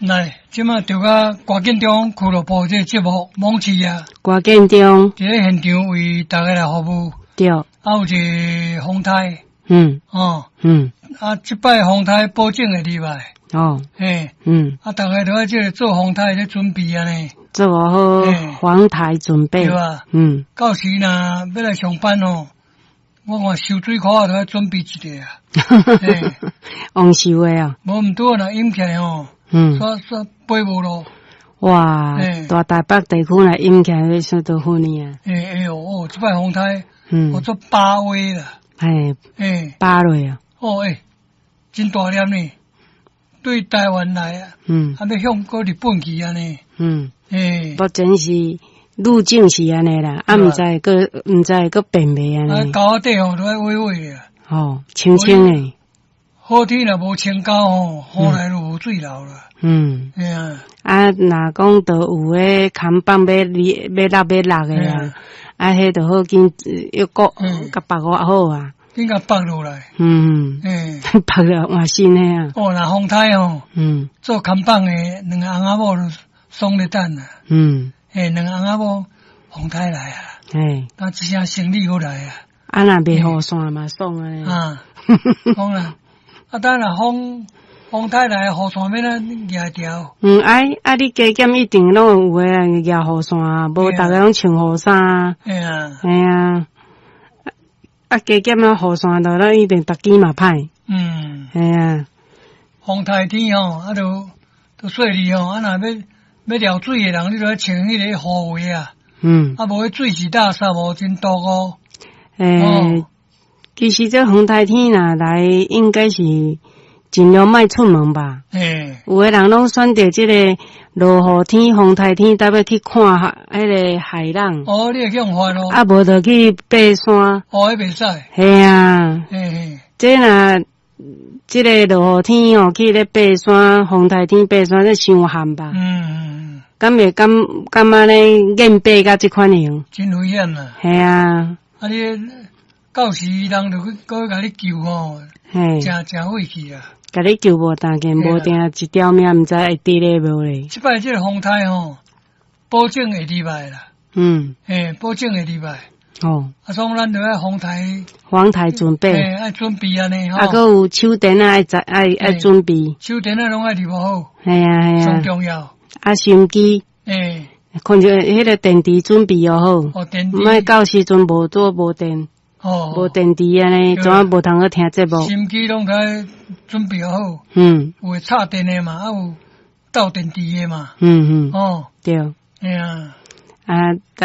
來，這馬著甲歌建中俱樂部這个節目網誌啊，歌建中，佇咧現場為大家來服務。對。啊，有一个風颱。哦。啊，這擺風颱保證會入來。嘿。啊，逐家都愛這个做風颱咧準備按呢。做好防台準備。對啊。到時若欲來上班哦，我看收水箍仔都愛準備一下啊。旺收的啊。無毋對，若淹起來吼，煞煞飛無路。哇！大台北地區若淹起來，算多好呢啊！欸欸哦，這擺風颱，我做八威啦。八落啊！哦欸，真大粒呢，對台灣來啊，還欲向閣日本去按呢。目前是路徑是按呢啦，啊，毋知閣變袂按呢。啊，溝仔底吼都愛洇洇啊。哦，清清的。好天若無清溝吼，雨來就無水流啦。嘿啊。啊，若講著有彼扛棒欲欲落欲落的啊，啊，彼著好緊又閣共縛偌好啊。緊共縛落來。縛落換新的啊。哦，若風颱吼，做扛棒的兩个翁仔某就爽咧等啊。嘿，兩个翁仔某風颱來啊。啊，這聲生理閣來啊。啊，若袂雨傘嘛爽啊。啊，講啦。啊，等若風颱來，雨傘欲按怎舉牢？哎，啊，你加減一定攏有的人舉雨傘啊，無逐家攏穿雨衫。嘿啊。嘿啊。啊，加減啊，雨傘就咱一定逐支嘛歹。嘿啊。風颱天吼，啊，就就細膩吼，啊，若欲欲撩水的人，你就愛穿彼個雨鞋啊。啊，無彼水是垃圾無真毒哦。欸，其實這風颱天若來，應該是盡量莫出門吧。有的人攏選擇這个落雨天、風颱天，特欲去看彼个海浪。哦，你會去予發咯？啊，無就去爬山。哦，彼袂使。嘿啊。嘿嘿。這若這个落雨天哦，去咧爬山，風颱天爬山，這傷譀吧？敢會敢敢按呢硬爬甲這款型？真危險啊！嘿啊。啊，你到時人就去閣共你救吼，誠誠費氣啊！共你救無當緊，無定一條命，毋知會佇咧無咧。這擺這个風颱吼，保證會入來啦。嘿，保證會入來。啊，所以咱就愛風颱。風颱準備。嘿，愛準備按呢吼。啊，閣有手電仔愛愛愛準備。手電仔攏愛預好。嘿啊嘿啊。上重要。啊，心機。看著彼个電池準備予好。哦，電池。莫到時陣無做無電。無電池按呢，怎啊無通閣聽節目？心機攏該準備好。有會插電的嘛，啊有鬥電池的嘛。對。嘿啊。啊。